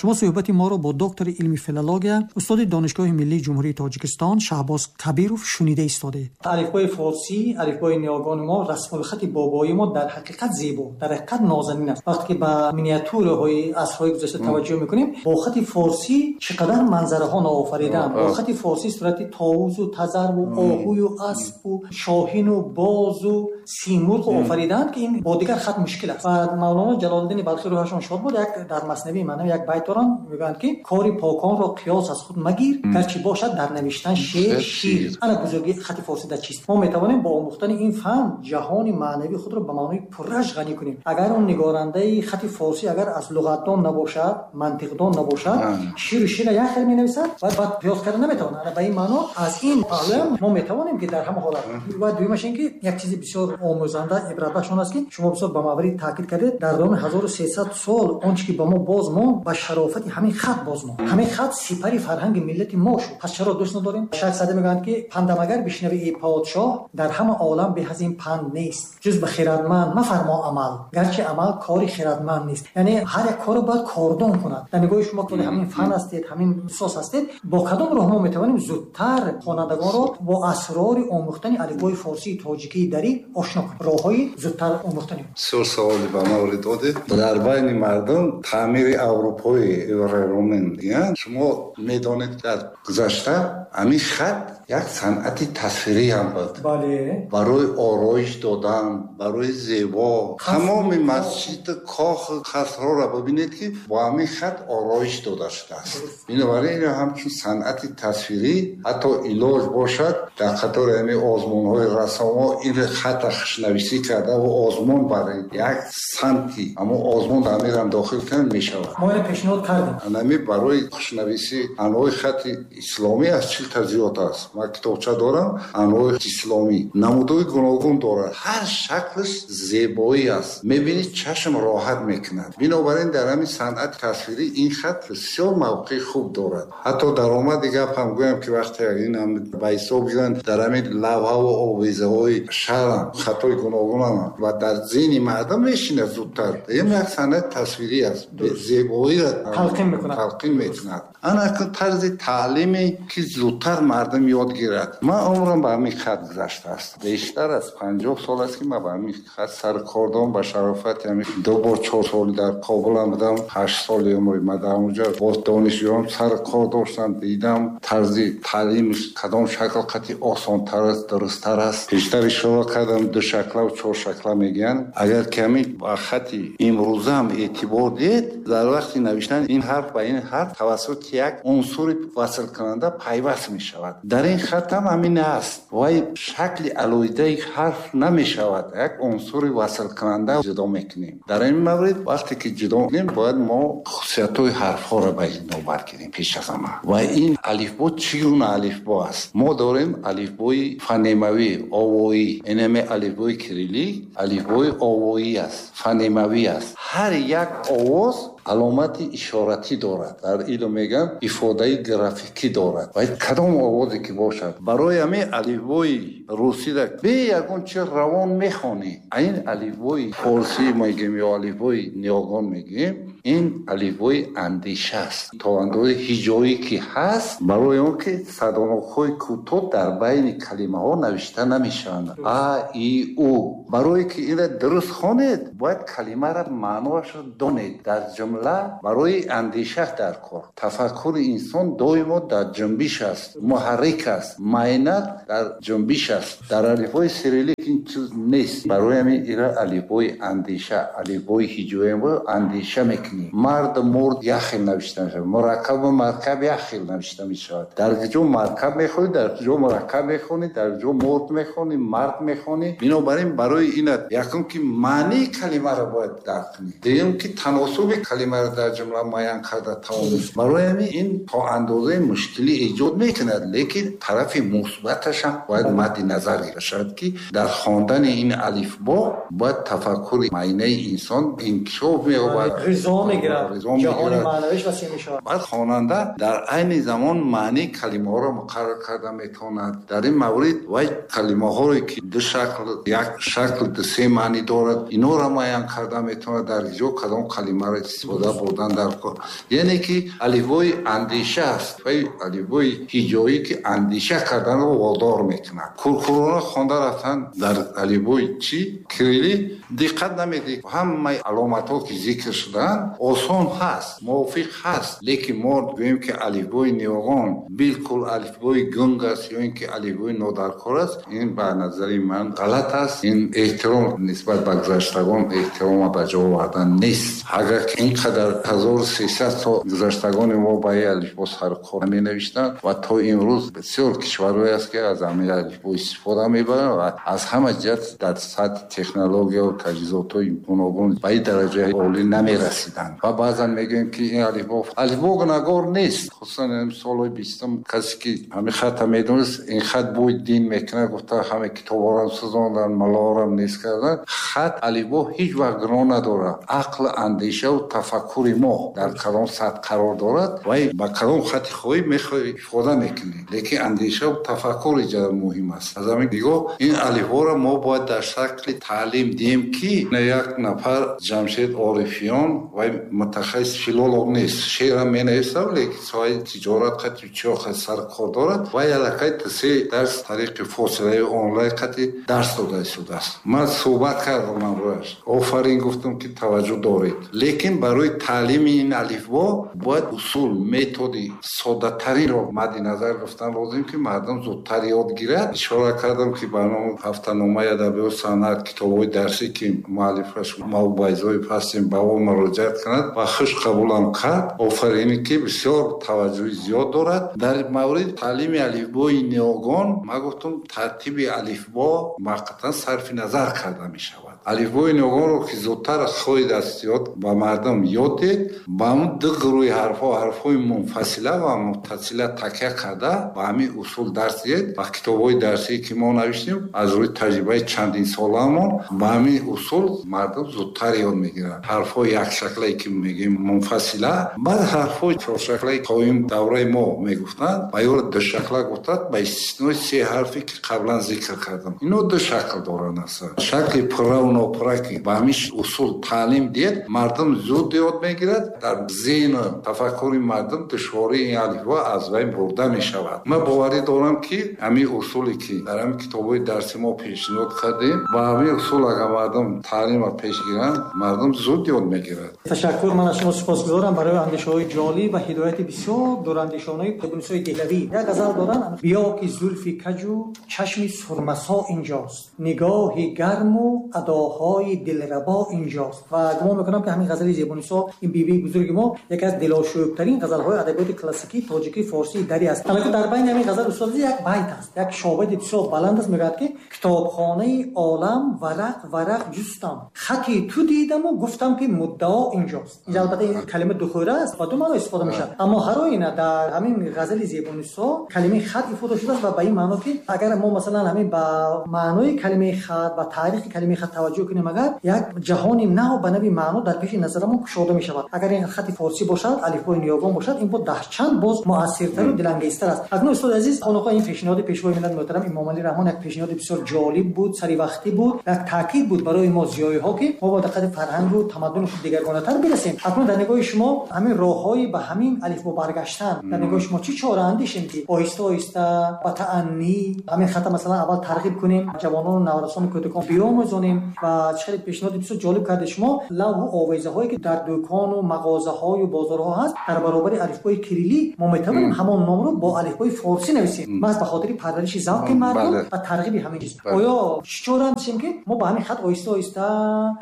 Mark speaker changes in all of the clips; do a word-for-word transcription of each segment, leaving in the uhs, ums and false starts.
Speaker 1: Шумо суҳбати моро бо доктори илми филология, устоди Донишгоҳи миллии Ҷумҳурии Тоҷикистон Шаҳбоз Кабиров шунида истодед. Алифбои форсӣ, алифбои ниёгони мо, расмулхати бобои мо дар ҳақиқат зебо, дар ҳақиқат нозанин аст. Вақте ки ба миниатюраҳои асрҳои гузашта таваҷҷӯҳ мекунем, бо хати форсӣ чӣ қадар манзараҳо ноофаридаанд. Бо хати форсӣ сурати товусу тазарву оҳую аспу шоҳину бозу симурғ офаридаанд, ки ин бо дигар хат мушкил аст. Ва Мавлоно Ҷалолиддини Балхӣ рӯҳашон шод буд, як дар Маснавии маънавӣ як байт доранд, мегӯянд ки кори поконро қиёс аз худ магир, гарчи бошад дар навиштан шер шир. Ана бузургии хати форсӣ дар чист? Мо метавонем бо омӯхтани ин фан ҷаҳони маънавии худро ба маънои пурраш ғанӣ кунем. Агар он нигорандаи хати форсӣ агар аз луғатдон набошад, мантиқдон набошад, ширу шира як хел менависад ва баъд қиёс карда наметавонад. Ана ба ин маъно аз ин паҳлӯ мо метавонем ки дар ҳама ҳолат. Ва дуюмаш ин ки як чизи бисёр омӯзанда, ибратбахш он аст ки шумо бисёр ба маврид таъкид кардед, дар давоми ҳазору сесад сол он чи ки ба мо боз монд, ба шарофати ҳамин хат боз монд. Ҳамин хат сипари фарҳанги миллати мо шуд. Пас чаро дӯст надорем? Шайх Саъдӣ мегӯянд ки пандам агар бишнавӣ эй подшоҳ, дар ҳама олам беҳ аз ин панд нест, ҷуз ба хирадманд мафармо амал, гарчи амал кори хирадманд нест. Яъне ҳар як корро бояд кордон кунад. Дар нигоҳи шумо ки ҳамин фан ҳастед, ҳамин ихтисос ҳастед, бо кадом роҳ мо метавонем зудтар хонандагонро бо асрори омӯхтани алифбои форсии тоҷикии дарӣ ошно кунем? Роҳҳои зудтар омӯхтани.
Speaker 2: Бисёр саволи ба маврид додед. Дар байни мардум таъмири аврупои роман мегӯянд. Шумо медонед, дар гузашта ҳамин хат як санъати тасвирӣ ҳам буд.
Speaker 1: Бале.
Speaker 2: Барои ороиш додан, барои зебо. Тамоми масҷид, кох, қасрҳоро бибинед ки бо ҳамин хат ороиш дода шудааст. Бинобар ин ҳамчун санъати тасвирӣ ҳатто илоҷ бошад дар қатори ҳамин озмунҳои рассомҳо ин хатро хушнависӣ карда ва озмун барои як самти ҳамон озмун ҳаминам дохил кардан мешавад.
Speaker 1: Мо инро пешниҳод кардем.
Speaker 2: Ҳамин барои хушнависӣ анвои хати исломӣ аз чил та зиёд аст. Ман китобча дорам, анвои исломӣ намудҳои гуногун дорад. Ҳар шаклаш зебоӣ аст. Мебинӣ чашм роҳат мекунад. Бинобар ин дар ҳамин санъати тасвирӣ ин хат бисёр мавқеи хуб дорад. Ҳатто даромади гап ҳам гӯям ки вақте ин ҳам ба ҳисоб гиранд, дар ҳамин лавҳаву овезаҳои шаҳрам хатҳои гуногунам ва дар зеҳни мардум мешинад зудтар. Ин як санъати тасвирӣ аст. Зебоиро
Speaker 1: талқин мекунад.
Speaker 2: Талқин мекунад. Ана тарзи таълиме ки зудтар мардум ёд гирад. Ман умрам ба ҳамин хат гузаштааст. Бештар аз панҷоҳ сол аст ки ман ба ҳамин хат сар кор дорам. Ба шарофати ҳамин ду бор чор сол дар Кобулам будам, ҳашт соли умри ман дар онҷо бо донишҷӯён сар кор доштам, дидам тарзи таълимаш кадом шакл қатъи осонтар аст, дурусттар аст. Пештар ишора кардам, ду шаклаву чор шакла мегӯянд. Агар ки ҳамин ба хати имрӯзаам эътибор диҳед, дар вақти навиштан ин ҳарф ба ин ҳарф тавассути як унсури васлкунанда пайваст мешавад. Дар ин хат ҳам ҳамин аст. Вай шакли алоҳидаи ҳарф намешавад, як унсури васлкунанда ҷудо мекунем. Дар ин маврид вақте ки ҷудо мекунем, бояд мо хусусиятҳои ҳарфҳоро ба ин навбат гирем пеш аз ҳама. Ва ин алифбо чӣ гуна алифбо аст? Мо дорем алифбои фонемавӣ, овоӣ. Инаме алифбои кириллӣ, алифбои овоӣ аст, фонемавӣ аст. Ҳар як овоз аломати ишоратӣ дорад. Дар илм мегӯянд ифодаи графикӣ дорад. Ва кадом овозе ки бошад. Барои ҳамин алифбои русиро бе ягон чи равон мехонӣ. Ин алифбои форсӣ мегӯем ё алифбои ниёгон мегӯем, ин алифбои андеша аст. То андозаи ҳиҷоӣ ки ҳаст, барои он ки садонокҳои кӯтоҳ дар байни калимаҳо навишта намешаванд. А, И, У. Барое ки инро дуруст хонед, бояд калимаро маъноашро донед. Дар ҷумла барои андеша дар кор. Тафаккури инсон доимо дар ҷунбиш аст, муҳаррик аст, майнат дар ҷунбиш аст. Дар алифбои сириллик ин чиз нест. Барои ҳамин инро алифбои андеша, алифбои ҳиҷоӣ андеша мекунем. Мард, мурд як хел навишта мешавад, мураккабу маркаб як хел навишта мешавад. Дар ҷо маркаб мехонӣ, дар ҷо мураккаб мехонӣ, дар ҷо мурд мехонӣ, мард мехонӣ. Бинобар ин барои ин якум ки маънии калимаро бояд дарк кунӣ, дуюм ки таносуби калимаро дар ҷумла муайян карда тавонӣ. Барои ҳамин ин то андозаи мушкилӣ эҷод мекунад, лекин тарафи мусбаташ ҳам бояд мадди назар гирифта шавад ки дар хондани ин алифбо бояд тафаккури майнаи инсон инкишоф меёбад,
Speaker 1: ғизо мегирад, ҷаҳони маънавиш васеъ мешавад.
Speaker 2: Баъд хонанда дар айни замон маънии калимаҳоро муқаррар карда метавонад. Дар ин маврид вай калимаҳое ки ду шакл, як шакл ду се маънӣ дорад, инҳоро муайян карда метавонад, дар ҷо кадом калимаро истифода истифода бурдан дар кор. Яъне ки алифбои андеша аст ва алифбои ҳиҷоӣ ки андеша карданро водор мекунад. Куркурона хонда рафтан дар алифбои чӣ кирилӣ диққат намедиҳед. Ҳамаи аломатҳо ки зикр шудаанд осон ҳаст, мувофиқ ҳаст, лекин мо гӯем ки алифбои ниёгон билкул алифбои гунг аст ё ин ки алифбои нодаркор аст, ин ба назари ман ғалат аст. Ин эҳтиром нисбат ба гузаштагон эҳтирома ба ҷо овардан нест. Агар ин қадар ҳазору сесад сол гузаштагони мо ба ин алифбо саркор менавиштанд ва то имрӯз бисёр кишварҳое аст ки аз ҳамин алифбо истифода мебаранд ва аз ҳама ҷиҳат дар сатҳи технология ва таҷҳизотҳои гуногун ба ин дараҷаи олӣ намерасиданд. Ва баъзан мегӯем ки ин алифбо алифбо гунагор нест. Хусусан солҳои бистум касе ки ҳамин хатта медонист, ин хат бӯи дин мекунад, гуфта ҳама китобҳоро сӯзонданд, маллаҳоро нест карданд. Хат алифбо ҳеҷ вақт гуноҳ надорад. Ақл, андеша ва тафаккури мо дар кадом сатҳ қарор дорад ва ба кадом хати хоҳӣ мехоҳӣ ифода мекунӣ, лекин андеша ва тафаккур инҷо муҳим аст. Аз ҳамин нигоҳ ин алифборо мо бояд дар шакли таълим диҳем ки як нафар Ҷамшед Орифиён ва мутахассис филолог нест, шеърам менависад, лекин соҳаи тиҷорат қати чиё саркор дорад ва аллакай се дарс тариқи фосилаи онлайн қати дарс дода истодааст. Ман суҳбат кардам ҳамроҳаш, офарин гуфтам ки таваҷҷӯҳ доред, лекин барои таълими ин алифбо бояд усул, методи соддатаринро мадди назар гирифтан лозим ки мардум зудтар ёд гирад. Ишора кардам ки ба номи ҳафтаномаи адабиёт санъат китобҳои дарсӣ ки муаллифаш Мавбайзоев ҳастем ба ӯ муроҷиат кунад ва хуш қабулам кард. Офаринӣ ки бисёр таваҷҷӯҳи зиёд дорад. Дар мавриди таълими алифбои ниёгон ман гуфтам тартиби алифбо муваққатан сарфи назар карда мешавад. Алифбои ниёгонро ки зудтар хоҳед аз ёд ба мардум ёд дед, ба он ду гурӯҳи ҳарфҳо, ҳарфҳои мунфасила ва муттасила такя карда ба ҳамин усул дарс диҳед ва китобҳои дарсие ки мо навиштем аз рӯи таҷрибаи чандин солаамон ба ҳамин усул мардум зудтар ёд мегиранд. Ҳарфҳои якшаклае ки мегӯем мунфасила, баъд ҳарфҳои чоршаклае то ин давраи мо мегуфтанд ва ёро душакла гуфтанд ба истиснои се ҳарфе ки қаблан зикр кардам. Ино ду шакл доранд аслан. Шакли пурра ва нопурра ки ба ҳамин усул таълим диҳед, мардум зуд ёд мегирад. Дар зеҳну тафаккури мардум душвории ин алифбо аз байн бурда мешавад. Ман боварӣ дорам ки ҳамин усуле ки дар ҳамин китобҳои дарси мо пешниҳод кардем, ба ҳамин усул агар мардум таълимро пеш гиранд, мардум зуд ёд мегирад.
Speaker 1: Ташаккур. Ман аз шумо сипосгузорам барои андешаҳои ҷолиб ва ҳидояти бисёр дурандешонаи Зебунисои Деҳлавӣ. Як ғазал доранд: биё ки зулфи каҷу чашми сурмасо инҷост, нигоҳи гарму адоҳои дилрабо инҷост. Ва гумон мекунам ки ҳамин ғазали Зебунисо, ин бибии бузурги мо, яке аз дилошӯбтарин ғазалҳои адабиёти классикии тоҷикии форсии дарӣ аст. Албатта дар байни ҳамин ғазал устод як байт аст, як шобади бисёр баланд аст, мегӯяд ки китобхонаи олам варақ варақ ҷустам, хати ту дидаму гуфтам ки муддао инҷост. Инҷа албатта ин калима духӯра аст ва ду маъно истифода мешавад, аммо ҳар оина дар ҳамин ғазали Зебунисо калимаи хат ифода шудааст ва ба ин маъно ки агар мо масалан ҳамин ба маънои калимаи хат, ба таърихи калимаи хат таваҷҷӯҳ кунем, агар як ҷаҳони нав ба нави маъно дар пеши назарамон кушода мешавад. Агар ин хати форсӣ бошад, алифбои ниёгон бошад, ин бо даҳчанд боз муассиртару дилангезтар аст. Акнун устоди азиз, хонақо ин пешниҳоди пешвои миллат муҳтарам Эмомалӣ Раҳмон як пешниҳоди бисёр ҷолиб буд, саривақтӣ буд, як таъкид буд барои мо зиёиҳо ки мо бо диққати фарҳангу тамаддуни худ дигаргонатар бирасем. Акнун дар нигоҳи шумо ҳамин роҳҳои ба ҳамин алифбо баргаштан, дар нигоҳи шумо чӣ чора андешем ки оҳиста оҳиста ба тааннӣ ҳамин хата масалан аввал тарғиб кунем, ҷавонону наврасону кӯдакон биомӯзонем? Ва чӣ хеле пешниҳоди бисёр ҷолиб карде шумо, лавҳу овезаҳое ки дар дӯкону мағозаҳою бозорҳо ҳаст, дар баробари алифбои кирилӣ мо метавонем ҳамон номро бо алифбои форсӣ нависем, маҳз ба хотири парвариши завқи мардум ва тарғиби ҳамин чиз. Оё чӣ чора андешем ки мо ба ҳамин хат оҳиста оҳиста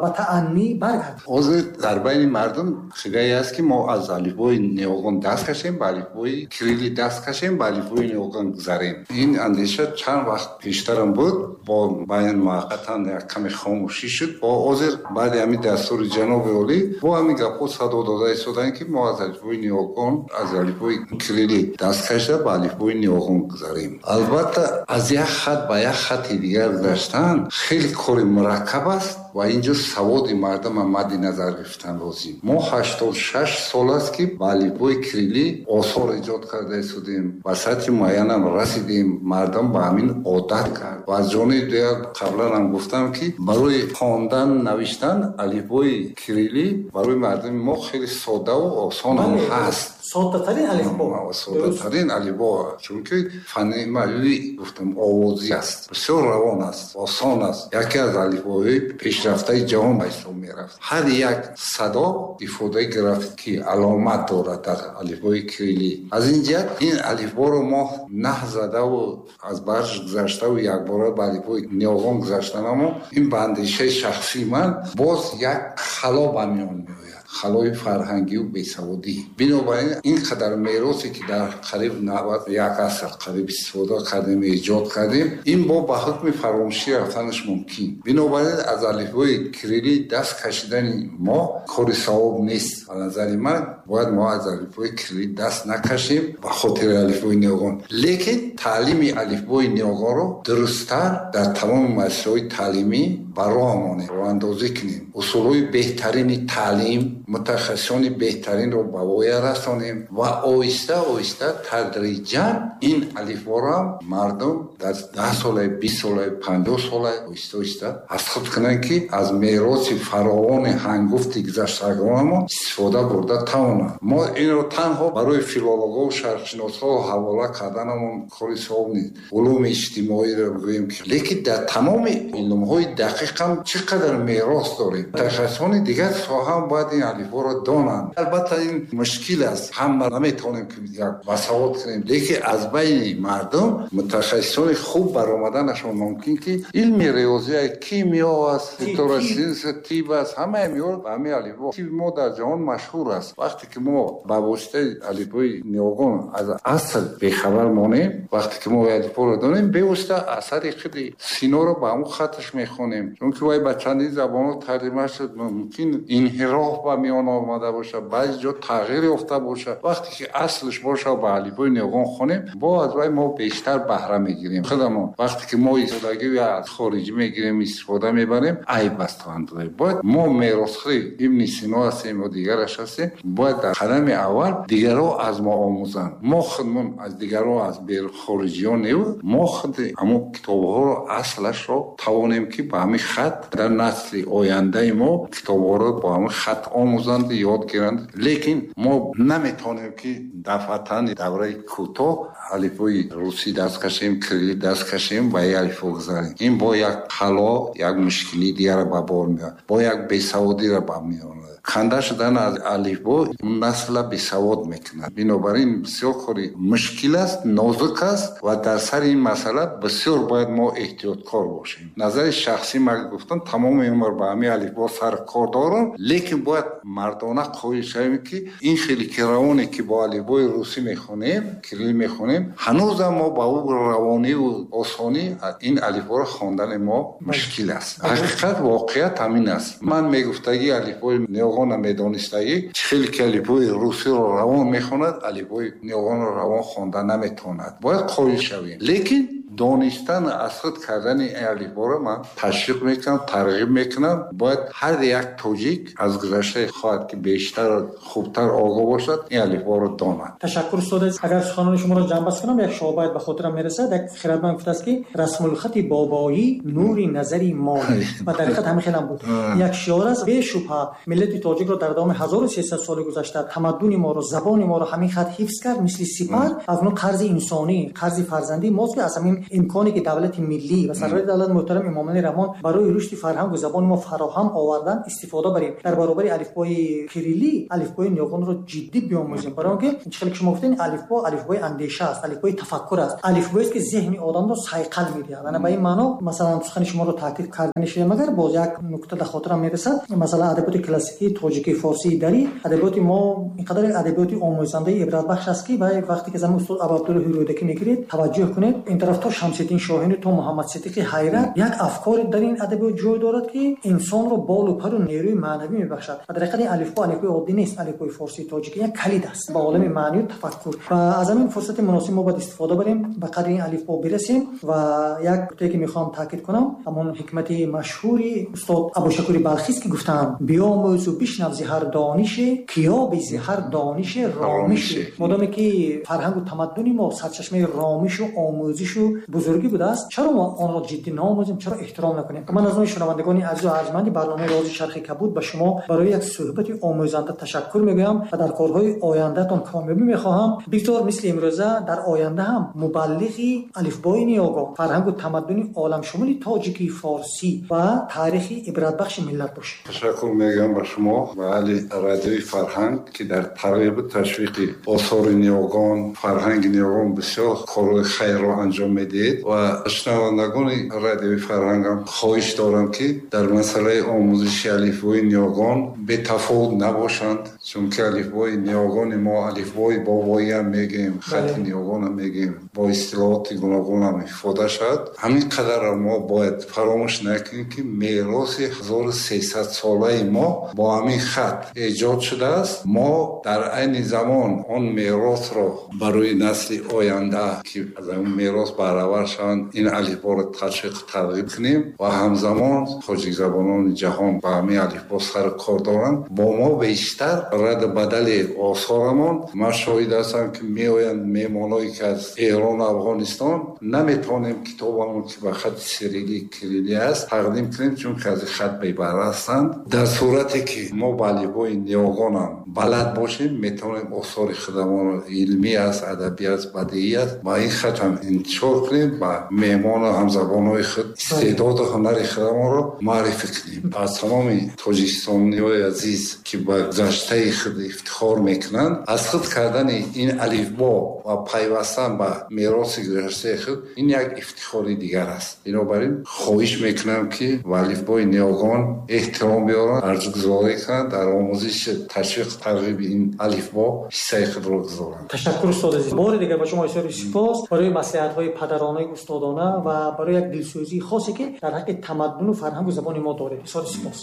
Speaker 1: ба тааннӣ баргардем?
Speaker 2: Ҳозир дар байни мардум хигае аст ки мо аз алифбои ниёгон даст кашем, ба алифбои кирилӣ даст кашем, ба алифбои ниёгон гузарем. Ин андеша чанд вақт пештарам буд, бо баён муваққатан як каме хомӯшӣ шуд. Бо ҳозир баъди ҳамин дастури ҷаноби олӣ бо ҳамин гапҳо садо дода истоданд ки мо аз алифбои ниёгон, аз алифбои кирилӣ даст кашида ба алифбои ниёгон гузарем. Албатта аз як хат ба як хати дигар гузаштан хеле кори мураккаб аст. ва инҷо саводи мардум мадди назар гирифтан лозим. Мо ҳаштоду шаш сол аст, ки ба алифбои кириллӣ осор эҷод карда истодем, ба сатҳи муайянам расидем, мардум ба ҳамин одат кард. Ва аз ҷониби дигар қаблан ҳам гуфтам, ки барои хондан, навиштан алифбои кириллӣ барои мардуми мо хеле соддаву осон ҳам ҳаст.
Speaker 1: Соддатарин алифбо.
Speaker 2: Соддатарин алифбо, чунки фонемавӣ гуфтам овозӣ аст, бисёр равон аст, осон аст. Яке аз алифбоҳои пешрафтаи ҷаҳон ба ҳисоб мерафт. Ҳар як садо ифодаи графикӣ аломат дорад дар алифбои кириллӣ. Аз ин ҷиҳат ин алифборо мо наҳ задаву аз барш гузаштаву якбора ба алифбои ниёгон гузаштанамон, ин ба андешаи шахсии ман боз як хало ба миён меояд, халои фарҳангию бесаводӣ. Бинобар ин ин қадар меросе, ки дар қариб навад як аср қариб истифода кардем, эҷод кардем, ин бо ба ҳукми фаромӯшӣ рафтанаш мумкин. Бинобар ин аз алифбои кириллӣ даст кашидани мо кори савоб нест. Ба назари ман бояд мо аз алифбои кириллӣ даст накашем ба хотири алифбои ниёгон, лекин таълими алифбои ниёгонро дурусттар дар тамоми муассисаҳои таълимӣ ба роҳ монем, роҳандозӣ кунем, усулҳои беҳтарини таълим, мутахассисони беҳтаринро ба воя расонем ва оҳиста оҳиста тадриҷан ин алифборо ҳам мардум дар даҳ солаи, бист солаи, панҷоҳ солаи оҳиста оҳиста аз худ кунанд, ки аз мероси фаровони ҳангуфти гузаштагонамон истифода бурда тавонанд. Мо инро танҳо барои филологҳо, шарқшиносҳо ҳавола карданамон кори савоб нест. Улуми иҷтимоиро бигӯем, ки лекин дар тамоми илмҳои дақиқ ҳам чӣ қадар мерос дорем. Мутахассисони дигар соҳа ҳам бояд ин алифборо донанд. Албатта ин мушкил аст, ҳама наметавонем, ки як басавод кунем, лекин аз байни мардум мутахассисони хуб баромаданашон мумкин, ки илми риёзия, кимиё аст, фиторасинс, тиб аст, ҳамаи инҳо ба ҳамин алифбо. Тиби мо дар ҷаҳон машҳур аст. Вақте ки мо ба воситаи алифбои ниёгон аз асл бехабар монем, вақте ки мо алифборо донем, бевосита асари худи Синоро ба ҳамон хатташ мехонем, чунки вай ба чандин забонҳо тарҷима шуд, мумкин инҳироф ба миён омада бошад, баъзе ҷо тағйир ёфта бошад. Вақте ки аслаш бошад, ба алифбои ниёгон хонем, бо аз вай мо бештар баҳра мегирем худамон. Вақте ки мо истифодагӣ аз хориҷӣ мегирем, истифода мебарем, айб аст то андозае. Бояд мо меросхӯри Ибни Сино ҳастем ё дигараш ҳастем, бояд дар қадами аввал дигарро аз мо омӯзанд. Мо худмон аз дигарро, аз хориҷиён не, мо худ ҳамон китобҳоро аслашро тавонем, ки ба ҳамин хат дар насли ояндаи мо китобҳоро бо ҳамин хат омӯзанд, ёд гиранд. Лекин мо наметавонем, ки дафъатан давраи кӯтоҳ алифбои русӣ даст кашем, кириллӣ даст кашем ва ин алифбо гузарем. Ин бо як хало, як мушкилии дигарро ба бор меорад, бо як бесаводиро ба миён меорад. Канда шудан аз алифбо насла бесавод мекунад. Бинобар ин бисёр кори мушкил аст, нозук аст ва дар сари ин масъала бисёр бояд мо эҳтиёткор бошем. Назари шахсӣ ман гуфтам, тамоми умр ба ҳамин алифбо сар кор дорам, лекин бояд мардона қоил шавем, ки ин хеле ки равоне, ки бо алифбои русӣ мехонем, кириллӣ мехонем, ҳанӯзам мо ба ӯ равониву осонӣ ин алифборо хондани мо мушкил аст. Ҳақиқат, воқеият ҳамин аст. Ман мегуфтагӣ алифбои ниёгонро медонистагӣ, чӣ хеле ки алифбои русиро равон мехонад, алифбои ниёгонро равон хонда наметавонад. Бояд қоил шавем, лекин донистан, аз худ кардани ин алифборо ман ташвиқ мекунам, тарғиб мекунам. Бояд ҳар як тоҷик аз гузаштаи хоҳад, ки бештар, хубтар огоҳ бошад, ин алифборо донад.
Speaker 1: Ташаккур, устод. Агар суханони шуморо ҷамъбаст кунам, як шоҳбайт ба хотирам мерасад. Як хирадманд гуфтааст, ки расмулхати бобоӣ нури назари мо, ва дар ҳақиқат ҳамин хелам буд. Як шиор аст. Бешубҳа миллати тоҷикро дар давоми ҳазору сесад соли гузашта тамаддуни моро, забони моро ҳамин хат ҳифз кард, мисли сипар. Аз он қарзи инсонӣ, қарзи фарзандии мост, ки аз ҳамин имконе, ки давлати миллӣ ва сарвари давлат муҳтарам Эмомалӣ Раҳмон барои рушди фарҳангу забони мо фароҳам овардан, истифода барем. Дар баробари алифбои кириллӣ алифбои ниёгонро ҷиддӣ биомӯзем, барои он ки чӣ хеле ки шумо гуфтед, алифбо алифбои андеша аст, алифбои тафаккур аст, алифбоест, ки зеҳни одамро сайқал медиҳад. Ана ба ин маъно масалан сухани шуморо таъкид карда мешавам. Магар боз як нукта дар хотирам мерасад. Масалан адабиёти классикии тоҷикӣ, форсии, дарӣ, адабиёти мо инқадар адабиёти омӯзандаи ибратбахш аст, ки вақте ки замин устод Абуабдуллоҳи Рӯдакӣ мегиред, таваҷҷӯҳ кунед, ин тараф То Шамсиддин Шоҳин то Муҳаммад Сиддиқи Ҳайрат як афкоре дар ин адабиёт ҷой дорад, ки инсонро болу пару нерӯи маънавӣ мебахшад. Ва дар ҳақиқат ин алифбо алифбои оддӣ нест. Алифбои форсии тоҷикӣ як калид аст ба олами маънию тафаккур. Ва аз ҳамин фурсати муносиб мо бояд истифода барем, ба қадри ин алифбо бирасем. Ва як нуктае, ки мехоҳам таъкид кунам, ҳамон ҳикмати машҳури устод Абушакури Балхист, ки гуфтаанд: «Биомӯзу бишнав зи ҳар донише, ки ёби зи ҳар донише ромише». Модоме ки фарҳангу тамаддуни мо сарчашмаи ромишу омӯзишу бузургӣ будааст, чаро мо онро ҷиддӣ наомӯзем, чаро эҳтиром накунем? Ман аз номи шунавандагони азизу арҷманди барномаи «Рози чархи кабуд» ба шумо барои як суҳбати омӯзанда ташаккур мегӯям ва дар корҳои ояндаатон комёбӣ мехоҳам. Бигзор мисли имрӯза дар оянда ҳам мубаллиғи алифбои ниёгон, фарҳангу тамаддуни оламшумули тоҷикӣ, форсӣ ва таърихи ибратбахши миллат бошед.
Speaker 2: Ташаккур мегӯям ба шумо ва аҳли Радиои Фарҳанг, ки дар тарғибу ташвиқи осори ниёгон, фарҳанги ниёгон бисёр корҳои хайрро анҷом медиҳед. Ва шунавандагони Радиои Фарҳангам хоҳиш дорам, ки дар масъалаи омӯзиши алифбои ниёгон бетафовут набошанд, чунки алифбои ниёгони мо алифбои бобоиам мегӯем, хати ниёгонам мегӯем, бо истилоҳоти гуногунам ифода шавад. Ҳамин қадарро мо бояд фаромӯш накунем, ки мероси ҳазору сесадсолаи мо бо ҳамин хат эҷод шудааст. Мо дар айни замон он меросро барои насли оянда, ки аз ҳамин мерос баҳравар шаванд, ин алифборо ташвиқу тарғиб кунем. Ва ҳамзамон тоҷикзабонони ҷаҳон ба ҳамин алифбо сару кор доранд, бо мо бештар раду бадали осорамон. Ман шоҳид ҳастам, ки меоянд меҳмоное, ки аз Эрону Афғонистон, наметавонем китобамон, ки ба хати сирилӣ, кирилӣ аст, тақдим кунем, чунки аз ин хат бебаҳра ҳастанд. Дар сурате ки мо ба алифбои ниёгонам балад бошем, метавонем осори худамонро, илмӣ аст, адабӣ аст, бадиӣ аст, ба ин хат ҳам интишор кунем, ба меҳмону ҳамзабонҳои худ истеъдоду ҳунари худамонро муаррифӣ кунем. Аз тамоми тоҷикистониҳои азиз, ки ба гузаштаи худ ифтихор мекунанд, аз худ кардани ин алифбо ва пайвастан ба мероси гузаштаи худ ин як ифтихори дигар аст. Бинобар ин хоҳиш мекунам, ки ба алифбои ниёгон эҳтиром биёранд, арҷгузорӣ кунанд, дар омӯзиши, ташвиқ, тарғиби ин алифбо ҳиссаи худро гузоранд.
Speaker 1: Ташаккур, устод азиз. Бори дигар ба шумо изҳори сипос барои маслиҳатҳои падаронаи устодона ва барои як дилсӯзии хосе, ки дар ҳаққи тамаддуну фарҳангу забони мо доред. Изҳори сипос.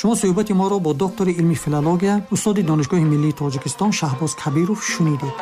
Speaker 1: Шумо суҳбати моро бо доктори илми филология, устоди Донишгоҳи миллии Тоҷикистон Шаҳбоз Кабиров шунидед.